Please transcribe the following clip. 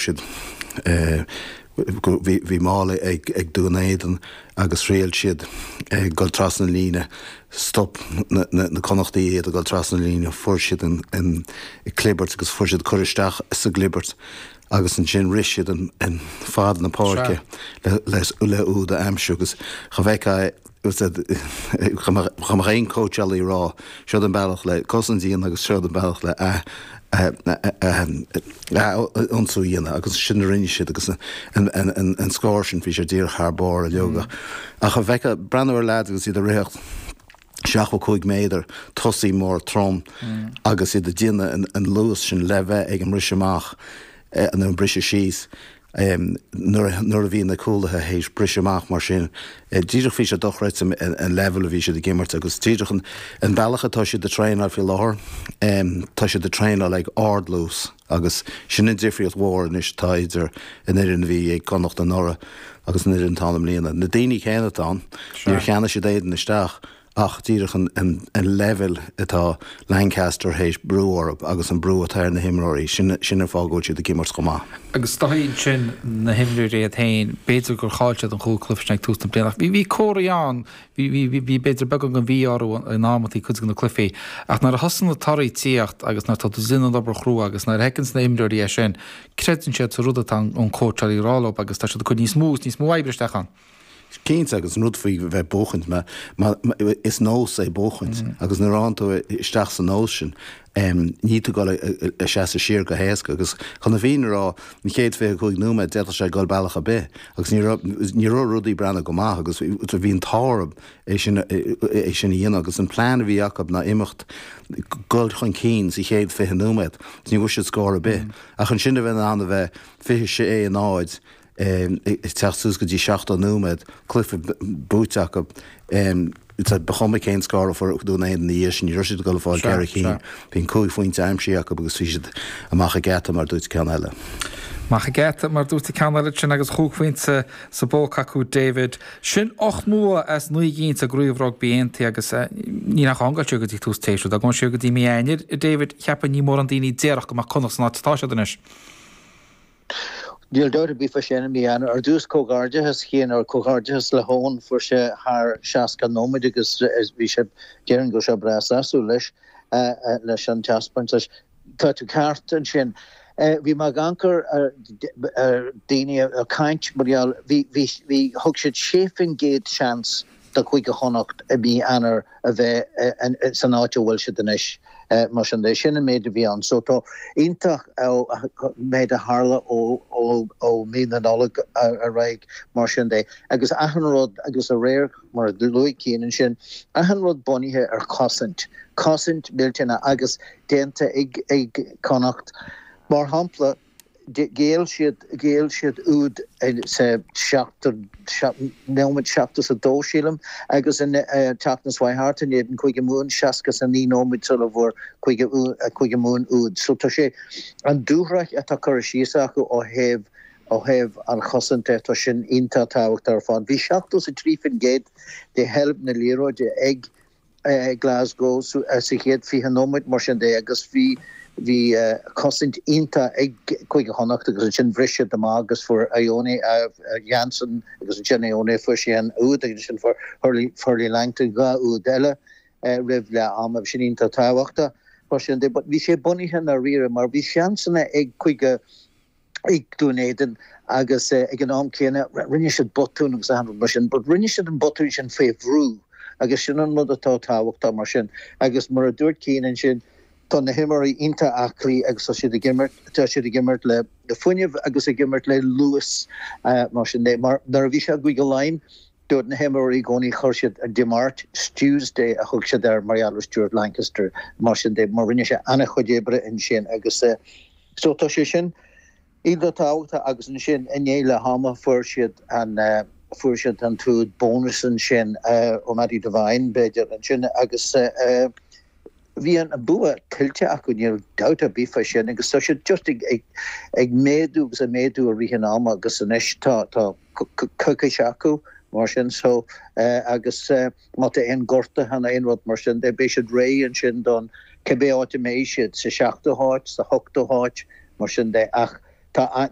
Siad bhí mála ag Dún Éideann agus thriail siad ag dul trasna na líne. Stop na Connachtaigh iad ag dul trasna na líne. Fuair siad an clibirt agus fuair siad cur isteach sa gclibirt agus ansin rith siad an fad na páirce le úd a aimsiú agus cha bhfeicfeá Dá mbeadh aon cóitseálaí ag rá, seod an bealach le cosaint a dhéanamh agus seod an bealach le ath-ionsaí a dhéanamh agus sin a rinne siad agus an scór sin bhí sé díreach thar barr uilig. Ach a bheith ag breathnú ar leaids agus iad ag ritheacht 75 méadar, tosaí mór trom agus iad ag déanamh an luas sin le bheith ag an mbriseadh amach nó an briseadh síos. Nuair a bhí na cúlaithe théis briseadh amach mar sin, díreach bhí sé dochreidte an leibhéal a bhí siad ag imirt agus díreach an bealach atá siad ag traenáil faoi láthair, tá siad ag traenáil ag ardluas agus sin an difríocht mhór anois atá idir an fhoireann a bhí ag Connacht anuraidh agus an fhoireann atá ann i mbliana. Na daoine céanna atá ann, níor cheannaigh siad éadan isteach. Ach díreach an leibhéal atá Lancaster théis brú orthu agus an brú atá ar na himreoirí, sin an fáth go bhfuil siad ag imirt chomh maith. Agus is dóigh ansin na himreoirí iad féin, b'fhéidir gur chaill siad an chúig chluiche sin ag tús na bliana ach bhí comharthaí ann, bhí b'fhéidir beagán den mhí-ádh orthu in amantaí cuid de na cluichí. Ach nuair a thosaíonn na torthaí ag tíocht agus nuair atá tú ag déanamh an obair chrua agus nuair a fheiceanns na himreoirí é sin, creideann siad sa rud atá an cóitseálaí ag rá leo agus tá siad ag cur níos mó agus níos mó oibre isteach ann. Cinnte, agus an rud faoi bheith buachaint, is nós é buachaint agus nuair a fhaigheann tú isteach sa nós sin, níl tú ag dul a seasamh siar go héasca agus chun na fírinne a rá, an chéad 25 nóiméad d'fhéadfadh sé dul bealach ar bith agus ní raibh, ní raibh rudaí ag breathnú go maith agus bhí an t-ádh orthu é sin, é sin a dhéanamh agus an plean a bhí acu ná imeacht, dul chun cinn sa chéad 20 nóiméad, ní bhfuair siad scór ar bith ach ansin a bheith in ann a bheith 26 a 0 ag teacht suas go dtí 70 nóiméad, cluiche buaite acu. Ba chuma cén scór a fuair Dún Éideann ina dhiaidh sin, ní raibh siad ag dul a fáil ceithre cinn. Bhí an cúig phointe aimsithe acu agus bhí siad amach an geata mar dúirt ceann eile. Amach an geata mar dúirt an ceann eile sin agus chúig phointe sa bpóca acu David. Sin ocht mbua as naoi gcinn sa gCraobh Rugbaí Aontaithe agus níl ach am ag dul siar go dtí tús an tséasúir. Dá ngabhfainn siar go dtí mí Eanáir, a David, cheapfainn ní mórán daoine a déarfadh go mbeadh Connacht san áit atá siad anois. Níl dabht ar bith fá sin i mí Eanáir. Ar dtús, comhghairdeachas Cian, or comhghairdeachas le hEoin, fuair sé thar 60 nóiméad agus bhí sé, déarfainn go raibh sé breá sásúil leis, leis an taispeántas. Tá tú ceart ansin. Bhí mé ag amharc ar daoine ag caint mar gheall, bhí, bhí, bhí, thug siad 6% seans do Chúige Chonnacht i mí Eanáir a bheith san áit a bhfuil siad anois. Mar sin de, sin an méid a bhí ann. So tá iontach an méid a tharla ó mí na Nollag ar aghaidh mar sin de. Agus achan rud, agus aréir mar a luaigh Cian ansin, achan rud bunaithe ar chosaint, cosaint millteanach agus déanta ag Connacht. Mar shampla, Ghéill siad, ghéill siad úd sa seachtú, nóiméad 72, sílim, agus an tseachtain seo thart in éadan Cúige Mumhan, 69 nóiméad sula bhfuair Cúige, Cúige Mumhan úd. So tá sé, an dúshraith atá curtha síos acu ó thaobh, ó thaobh an chosaint de, tá sin iontach tábhachtach ar fad. Bhí 73% de sheilbh na liathróide ag. Glasgow sa chéad 20 nóiméad mar sin de agus bhí bhí cosaint iontach ag Cúige Chonnacht agus ansin bhris siad amach agus fuair Ioane Jansen agus ansin Ioane fuair sé an úd agus ansin fuair Hurley Hurley Langton dhá úd eile roimh leath ama. Bhí sin iontach tábhachtach mar sin de but bhí sé bunaithe i ndáiríre mar bhí seansanna ag Cúige ag Dún Éideann agus ag an am céanna rinne siad botún agus achan rud mar sin but rinne siad an botún sin faoi bhrú agus sin an rud atá tábhachtach mar sin agus mar a dúirt Cian ansin tá na himreoirí iontach aclaí agus tá siad ag imirt tá siad ag imirt le fuinneamh agus ag imirt le luas mar sin de mar nuair a bhí sé i gCúige Laighean dúirt na himreoirí i gcónaí chuir siad Dé Máirt Stew's Day a thug siad air mar gheall ar Stuart Lancaster mar sin de mar rinne sé an-chuid oibre ansin agus So tá sé sin iontach tábhachtach agus ansin i ndiaidh leath ama fuair siad an fuair siad an t-úd bónus ansin ó Matty Devine b'fhéidir ansin agus bhí an bua tuillte acu níl dabht ar bith fá sin agus tá siad just ag ag ag méadú agus ag méadú i rith an ama agus anois tá tá coicís acu mar sin so agus Má tá aon gortuithe nó aon rud mar sin de, beidh siad réidh ansin don cibé áit a mbeidh siad, sa seachtú háit, sa hochtú háit, mar sin de. Ach Tá an.